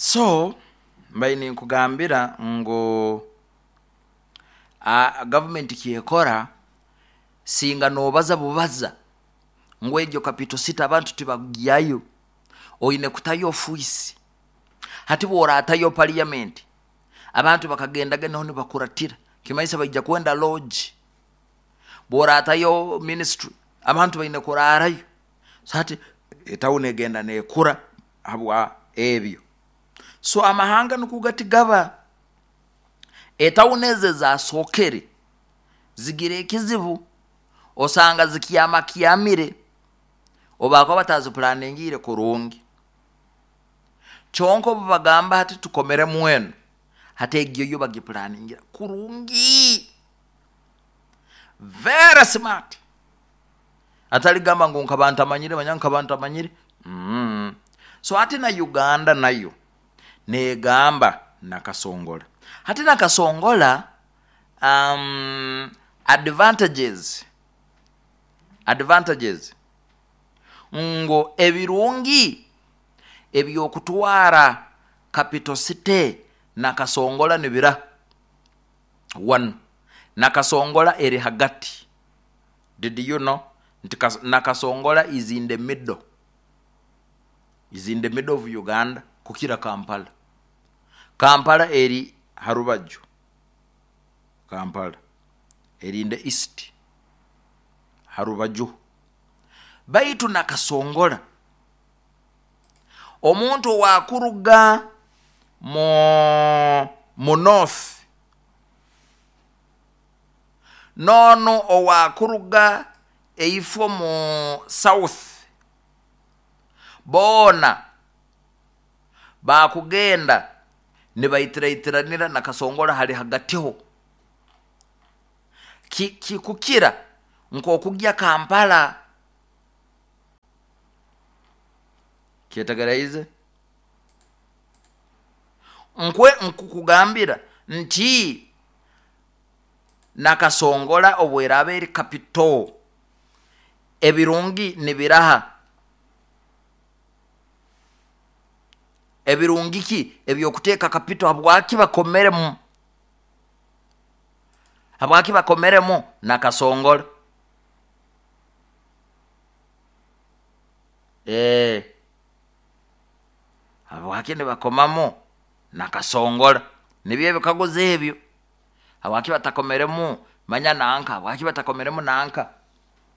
So mbaire ninkugambira ngu gavumenti kyekora, singa nobaza bubaza ngu egyo capital city abantu tibagyayo, oine kutayo ofiisi. Hati bworatayo parliament, abantu bakagendaga naho nibakuratira, kimanyisa baija kwenda lodge. Bworatayo ministry, abantu baine kurarayo. So hati etawuni egenda nekura habwa ebyo. So amahanga nukwo gati gaba, etawuni ezi ezasookere zigira ekizibu, osanga zikyamakyamire obu bakuba batazipulaningiire kurungi. Kyonka obu bagamba hati tukomeremu enu, hati egyo yo bagipulaningira kurungi, very smart. Atali gamba ngu nkaba ntamanyire, manya nkaba ntamanyire. So hati na Uganda nayo negamba Nakasongola. Hati Nakasongola, advantages ngu ebirungi ebyokutwara capital city Nakasongola nibira. One, Nakasongola eri hagati. Did you know nti Nakasongola is in the middle, is in the middle of Uganda kukira Kampala. Kampala eri harubaju, Kampala eri in the east harubaju, baitu Nakasongola omuntu owakuruga mu north nono owakuruga eifo mu south, boona bakugenda nibaitiraitiranira Nakasongola hali hagatiho. Kikukira nk'okugya Kampala. Kyetegeraize? Nkwe nkukugambira nti Nakasongola obweraba eri capital, ebirungi nibiraha? Ebirungi ki ebyokuteeka capital? Habwaki bakomeremu? Habwaki bakomeremu Nakasongola? Habwaki nibakomamu Nakasongola? Nibyo ebikaguzo ebyo. Habwaki batakomeremu manya nanka? Habwaki batakomeremu nanka?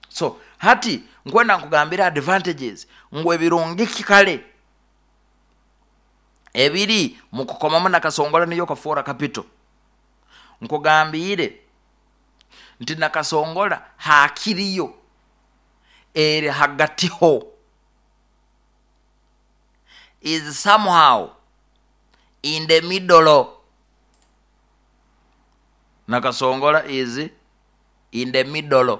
So hati nkwenda nkugambira advantages, ngu ebirungi ki kale ebiri mukukomamu Nakasongola niyo kafoora capital. Nkugambiire nti Nakasongola hakiriyo eri hagatiho, is somehow in the middle. Nakasongola is in the middle.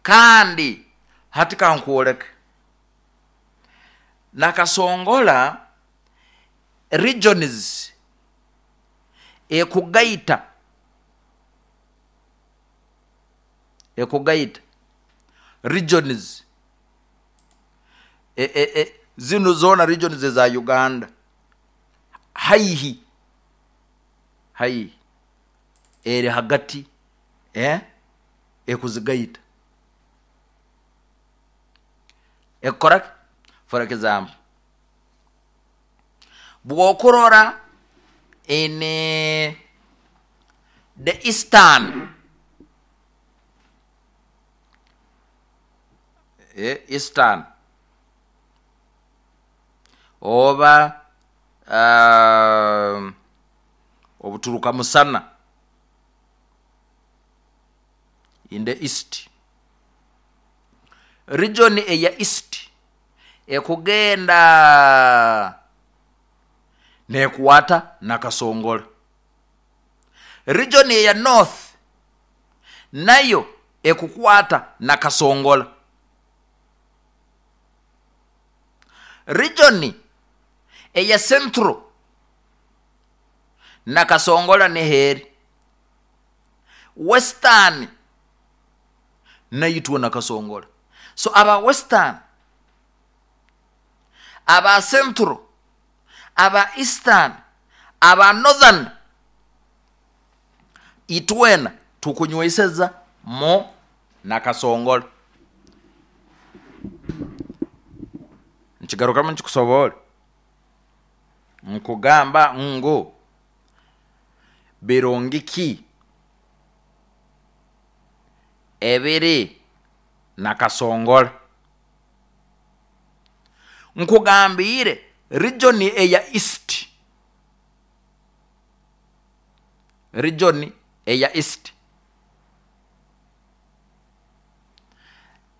Kandi hati kankwoleke Nakasongola regions ekugaita regions zinu zoona regions eza Uganda haihi haihi eri hagati, ekuzigaita. Ekukora ki? For example, bwokurora in the eastern, eastern oba obuturuka musana in the east, region eya east ekugenda nekwata Nakasongola. Region eya north nayo ekukwata Nakasongola. Region eya central Nakasongola niho eri. Western naitwe Nakasongola. So aba western, Aba Central, aba Eastern, aba Northern, itwena tukunyweseza mu Nakasongola. Nkigarukamu nkikusoboore, nkugamba ngu birungi ki ebiri Nakasongola? Nkugambiire region eya East, region eya East,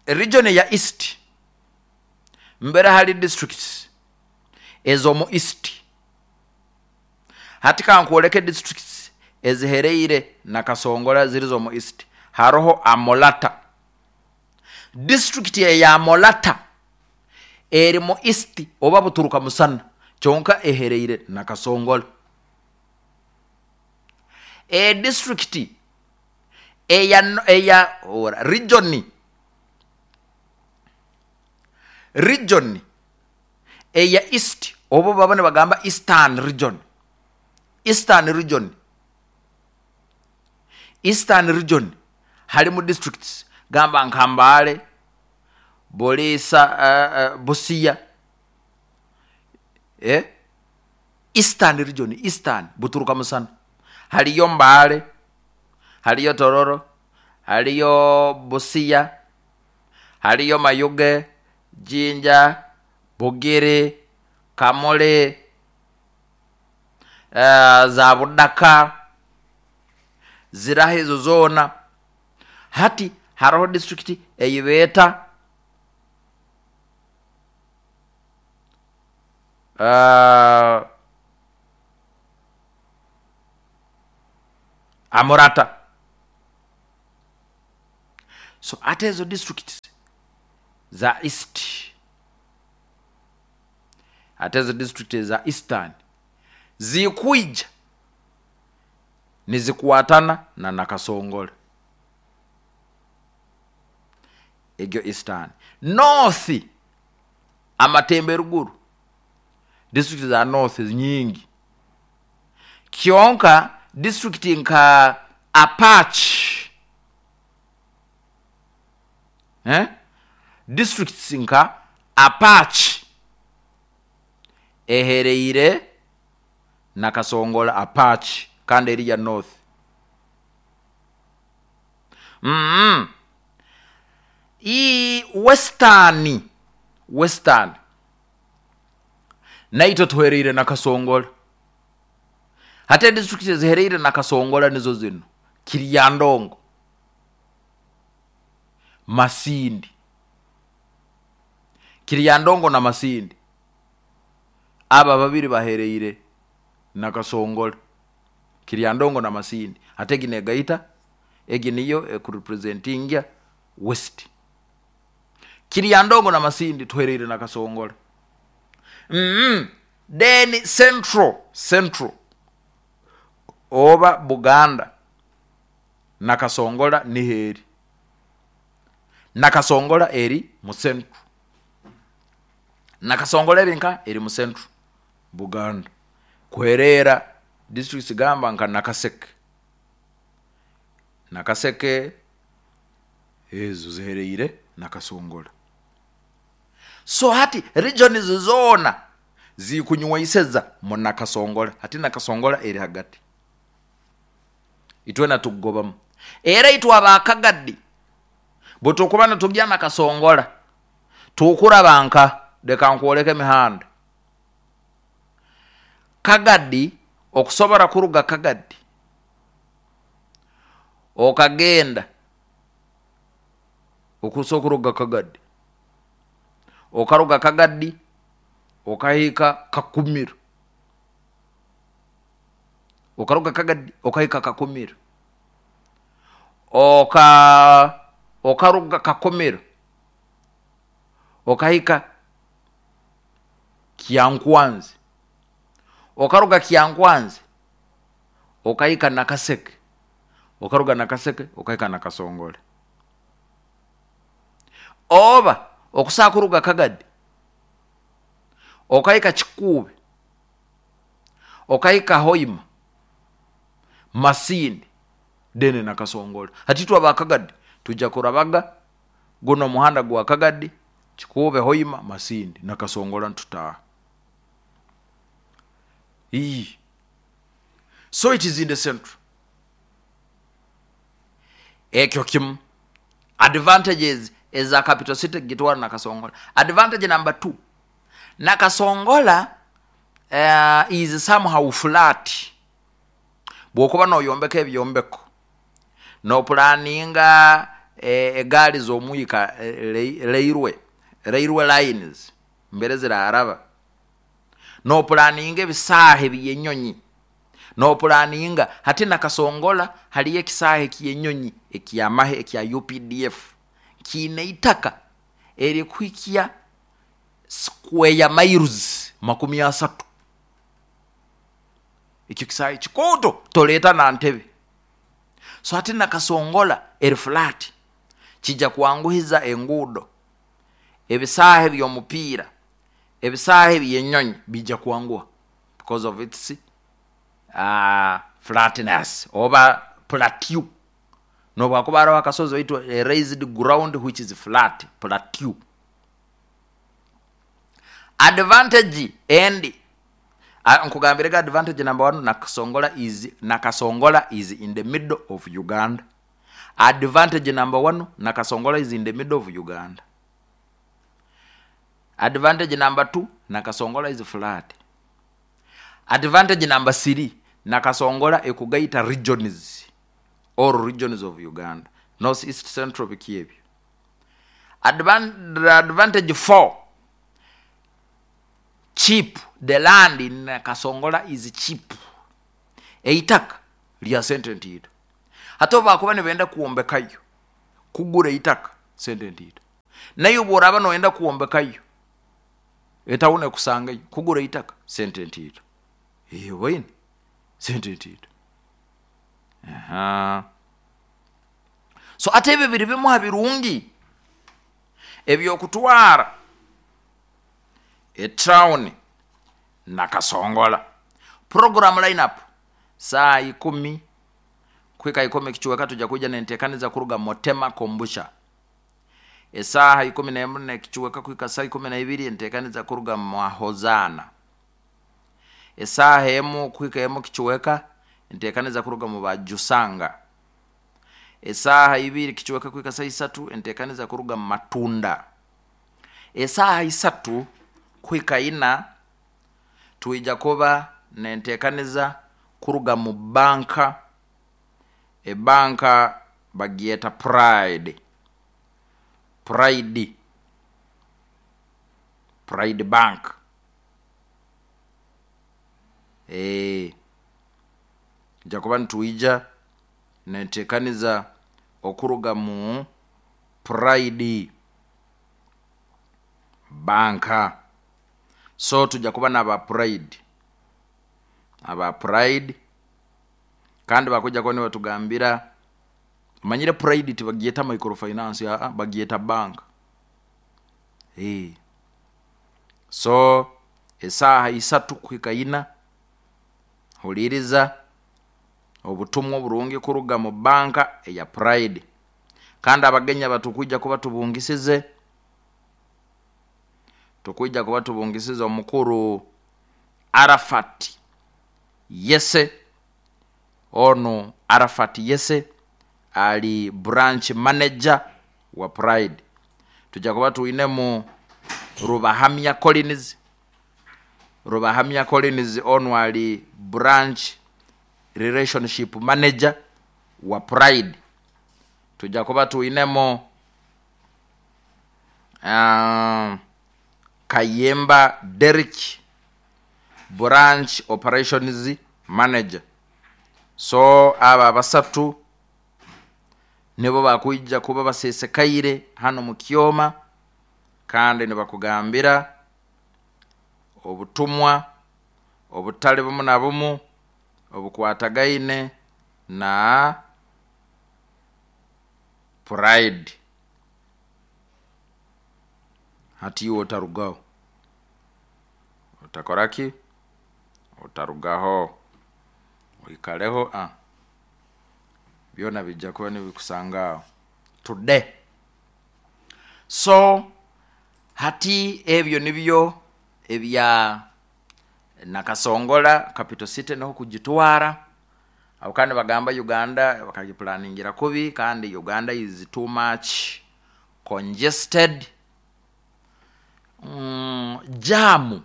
region eya East mbere hali districts ez'omu East. Hati kankwoleke districts ezihereire Nakasongola ziri z'omu East. Haroho Amolata. District eya Amolata eri mu East oba Buturuka Musana, kyonka ehereire Nakasongola. E district eya eya ora region region eya East obu baba nibagamba Eastern region, Eastern region, Eastern region harimu districts gamba nka Mbale, Buliisa, Busia, Eastern region, Eastern Buturuka Musana, hariyo Mbale, hariyo Tororo, hariyo Busia, hariyo Mayuge, Jinja, Bugiri, Kamuli, za Budaka, ziraho ezo zoona. Hati haroho district ei beeta Amurata. So hati ezo districts za East, hati ezo district eza Eastern zikwija nizikwatana na Nakasongola. Egyo Eastern. North, amatemba eruguru, district za North nyingi. Kyonka district nka Apac, eh? Districts nka Apac ehereire Nakasongola, Apac kandi eri ya North. Ii Western, Western naitwe tuhereire Nakasongola. Hati edistrict ezihereire Nakasongola nizo zinu: Kiryandongo, Masindi. Kiryandongo na Masindi aba babiri bahereire Nakasongola. Kiryandongo na Masindi. Hati egi negaita, egi niyo ekurepresentinga West. Kiryandongo na Masindi tuhereire Nakasongola. Then Central, Central oba Buganda, Nakasongola niho eri. Nakasongola eri mu Central. Nakasongola eri nka eri mu Central Buganda. Kuhereera districts gamba nka Nakaseke. Nakaseke ezo zihereire Nakasongola. So hati regions zoona zikunywaiseza mu Nakasongola. Hati Nakasongola eri hagati. Itwena tukugobamu. Era itwe abakagadi bwe tukuba nitugya Nakasongola tukuraba nka leka nkwoleke emihanda. Kagadi okusobora kuruga Kagadi okagenda okusobola kuruga Kagadi okaruga Kagadi okahika Kakumiro, okaruga Kagadi okahika Kakumiro, okaruga Kakumiro okahika Kyankwanzi, okaruga Kyankwanzi okahika Nakaseke, okaruga Nakaseke okahika Nakasongola. Oba okusobola kuruga Kagadi Okahika Kikuube, okahika Hoima, Masindi, then Nakasongola. Hati itwe abakagadi tujja kurabaga guno omuhanda gwa Kagadi, Kikuube, Hoima, Masindi, Nakasongola ntutaaha. Ii. So it is in the central. Ekyo kimu advantages eza capital city gitwara Nakasongola. Advantage number 2, Nakasongola is somehow flat. Bwokuba noyombeka ebyombeko, nopulaninga egaali z'omwika, railway lines mbere ziraraba, nopulaninga ebisaaha ebyenyonyi, nopulaninga hati Nakasongola haliyo ekisaaha ekyenyonyi ekyamahe ekya UPDF kiine itaka erikuhikya square miles 30. Ekyo kisaahe kikooto toleeta na ntebe. So hati Nakasongola eri flat, kijja kwanguhiza enguudo, ebisaaha eby'omupiira, ebisaaha ebyenyonyi bijja kwanguha because of its flatness oba plateau. Nobwakuba haroho akasozi baitu a raised ground which is flat, plateau. Advantage endi, nkugambirege advantage number 1, Nakasongola is in the middle of Uganda. Advantage number 1, Nakasongola is in the middle of Uganda. Advantage number 2, Nakasongola is flat. Advantage number 3, Nakasongola ekugaita regions, all regions of Uganda, North, East, Central, biki ebyo. Advantage 4, cheap. The land in Nakasongola is cheap. Eitaka lya sente ntiito. Hati obu bakuba nibenda kwombekayo, kugura eitaka sente ntiito. Naye obu oraba noyenda kwombekayo, etawuni ekusangayo, kugura eitaka sente ntiito. Oboine sente ntiito. So ate ebyo biri bimu ha birungi ebyokutwara etawuni Nakasongola. Program lineup saa 10 kuhika 10 kichweka tujja kuija nentekaniza kuruga Motema Kombucha. Esaaha 11 nekichweka kuhika saa 12 entekaniza kuruga Mahozana. Esaaha 1 kuhika 1 kichweka entekaniza kuruga mu Bajusanga. Esaaha 2 kichweka kuhika saa 3 entekaniza kuruga mu Matunda. Esaaha 3 kuhika 4 tuija kuba nentekaniza kuruga mu banka. Ebanka bagieta Pride. Pride. Pride Bank. Nja kuba nituija nentekaniza okuruga mu Pride Banka. So tujja kuba n'aba Pride. Aba Pride kandi bakujja kuba nibatugambira, manyire Pride tibagieta microfinance, bagieta bank. So esaaha 3 kuhika 4 huliriza obutumwa oburungi kuruga mu banka eya Pride. Kandi abagenya batukwijja kuba tubungisize, tukwijja kuba tubungisize omukuru Arafat Yese. Ono Arafat Yese ali branch manager wa Pride. Tujja kuba tuinemu Rubahamya Collins. Rubahamya Collins ono ali branch relationship manager wa Pride. Tujja kuba tuinemo Kayemba Derek, branch operations manager. So aba basatu nibo bakwijja kuba basesekaire hano mu Kyoma, kandi nibakugambira obutumwa obutali bumu na bumu obukwatagaine na Pride. Hati iwe otarugaho. Otakora ki? Otarugaho, oikaleho, byona bijja kuba nibikusanga aho today. So hati ebyo nibyo ebya Nakasongola, capital city niho kugitwara abo. Kandi bagamba Uganda bakagipulaningira kubi, kandi Uganda is too much congested. Jam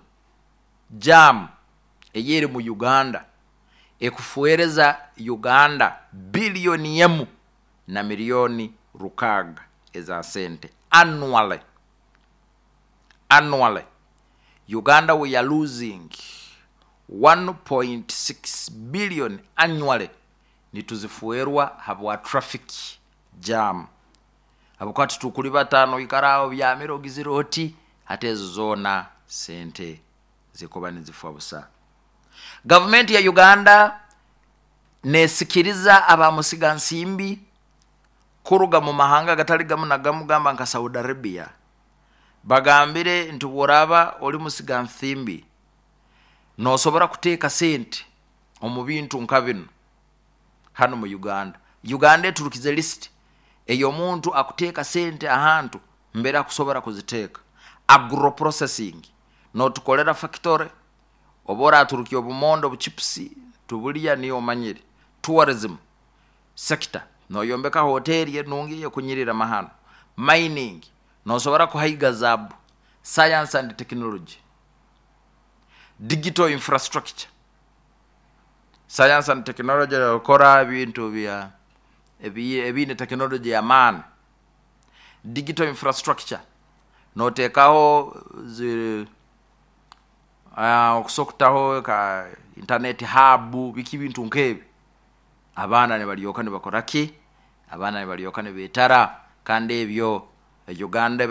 eyeri mu Uganda ekufuereza Uganda 1,6 billion eza sente annually. Annually Uganda, we are losing 1.6 billion annually, nituzifuerwa habwa traffic jam, habwokuba titukuli bataano, oikara aho byamire ogizire oti. Hati ezo zoona sente zikuba nizifa busa. Gavumenti ya Uganda nesikiriza abamusiga nsimbi kuruga mu mahanga gatali gamu na gamu, gamba nka Saudi Arabia. Bagambire nti bworaba oli musiga nsimbi, nosobora kuteeka sente omu bintu nka binu hano mu Uganda. Uganda eturukize list ey'omuntu akuteeka sente ahantu mbere akusobora kuziteeka: agro processing, notukolera factory, oba oraturukia obumondo, obuchipusi tubulya, niyo omanyire; tourism sector, noyombeka hoteri enungi ekunyirira mahano; mining, nosobora kuhaiga zaabu; science and technology, digital infrastructure. Science and technology, okora ebintu bya ebiine technology y'amaani; digital infrastructure, noteekaho zi okusobola kutaho ka internet hub, biki, bintu nkebi. Abaana nibalyoka nibakora ki? Abaana nibalyoka nibetara, kandi ebyo Uganda.